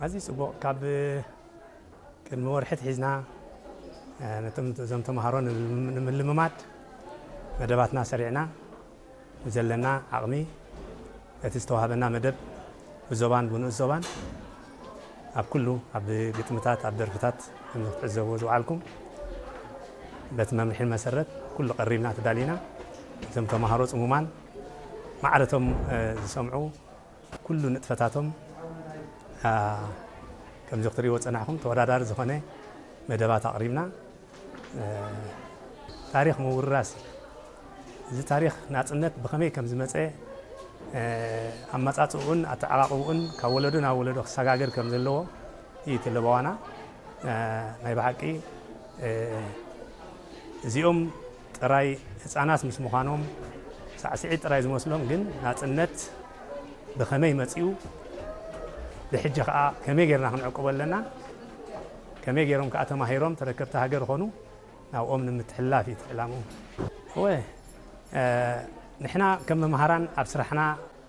ኣዝዩ ጽቡቕ። ካብ ቅድሚ ወርሒ ኣትሒዝና፣ እ፣ ነቶም፣ እዞም ተምሃሮ ንምልምማድ መደባትና ሰሪዕና፣ ብዘለና ዓቕሚ፣ እቲ ዝተዋህበና መደብ ብዞባን ብንኡስ ዞባን፣ ኣብ ኩሉ፣ ኣብ ግጥምታት፣ ኣብ ደርፍታት፣ ከም ክትዕዘብዎ ዝወዓልኩም፣ በቲ መምርሒ መሰረት ኩሉ ቀሪብና ተዳሊና። እዞም ተምሃሮ ጽሙማን ማዕረቶም፣ እ፣ ዝሰምዑ፣ ኩሉ ንጥፈታቶም፣ አ፣ ከምዚ ክትሪእዎ ጸናሕኩም፣ ተወዳዳሪ ዝኾነ መደባት ኣቕሪብና። እ፣ ታሪኽ ምውርራስ እዩ። እዚ ታሪኽ ናጽነት ብኸመይ ከም ዝመጸ፣ እ፣ ኣመጻጽኡን ኣተዓቓቕብኡን ካብ ወለዶ ናብ ወለዶ ክሰጋገር ከም ዘለዎ እዩ እቲ ለበዋና። እ፣ ናይ ብሓቂ፣ እ፣ እዚኦም ጥራይ ህጻናት ምስ ምዃኖም ሳዕስዒት ጥራይ ዝመስሎም፣ ግን ናጽነት ብኸመይ መጺኡ፣ ብሕጂ ከኣ ከመይ ጌርና ክንዕቅቦ ኣለና፣ ከመይ ጌሮም ከኣ ተማሂሮም ተረከብቲ ሃገር ኾኑ፣ ናብኦም ንምትሕልላፍ እዩ እቲ ዕላምኡ። እወ፣ እ፣ ንሕና ከም መምሃራን ኣብ ስራሕና፣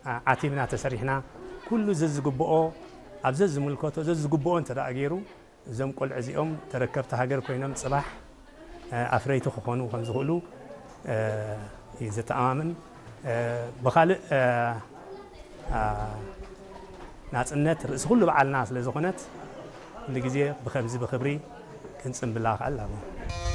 እ፣ ዓቲብና ተሰሪሕና፣ ኩሉ ዘዝግብኦ፣ ኣብ ዘዝምልከቶ ዘዝግብኦ እንተ ደኣ ገይሩ፣ እዞም ቆልዑ እዚኦም ተረከብቲ ሃገር ኮይኖም ጽባሕ፣ እ፣ ኣፍረይቲ ክኾኑ ከም ዝኽእሉ፣ እ፣ እዩ ዘተኣማምን። እ፣ ብኻልእ፣ እ፣ እ፣ ናጽነት ርእሲ ኩሉ በዓልና ስለ ዝኾነት፣ ኩሉ ግዜ ብኸምዚ ብኽብሪ ክንጽንብላ ከኣል ኣለዎ።